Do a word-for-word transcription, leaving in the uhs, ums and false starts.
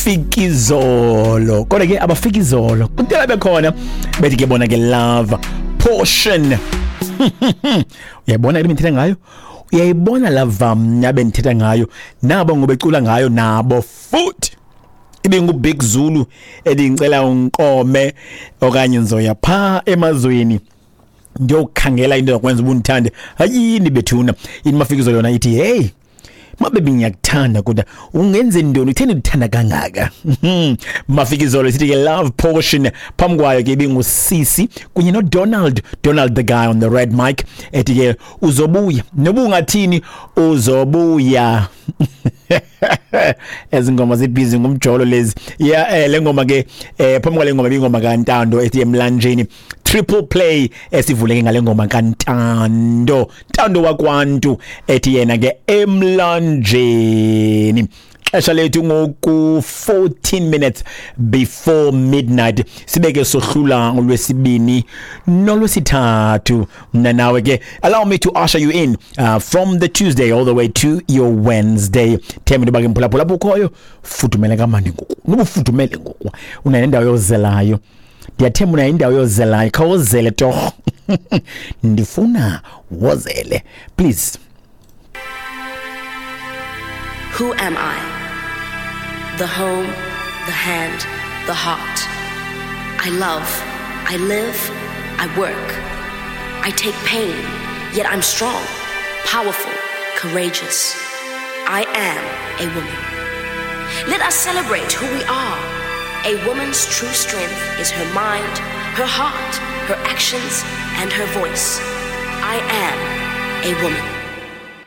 Mafikizolo. Kodwa ke abafikizolo kudala bekhona bethi ke bona ke Love Portion. Uyayibona into ngayo? Uyayibona lava mna bendithetha ngayo nabo ngobecula ngayo nabo futhi ibingu Big Zulu edingicela unkome okanye ngizoya pha emazweni ndiyokhangela into yokwenza ubundithande. Hayini bethuna ini Mafikizolo yona ithi hey mabebi ngiyakuthanda kodwa ungenze ntoni utheni ndithanda kangaka. Mafikizolo sithi ke Love Portion. Phambi kwayo ke ibingusisi kunye no Donald Donald the guy on the red mic ethi ke uzobuya noba ungathini uzobuya. Ezingoma zibhizi ngumjolo lezi. Yeah, eh, le ngoma ke eh, phambi kwale ngoma ibingoma kaNtando ethi Emlanjeni. Triple play esivuleke ngale ngoma kaNtando Ntando wakwantu ethi yena ke Emlanjeni. Xesha lethu ngoku fourteen minutes before midnight. Sibeke sohlula ngolwesibini nolwesithathu. Mna nawe ke allow me to usher you in uh, from the Tuesday all the way to your Wednesday. Themba into bake mphulaphula bukhoyo fudumele kamandi ngoku. Nobufudumele ngoku. Unayo indawo yozelayo. Ndiyathemba unayo indawo yozelayo. Khawuzele torho. Ndifuna wozele. Please. Who am I? The home, the hand, the heart. I love, I live, I work. I take pain, yet I'm strong, powerful, courageous. I am a woman. Let us celebrate who we are. A woman's true strength is her mind, her heart, her actions, and her voice. I am a woman.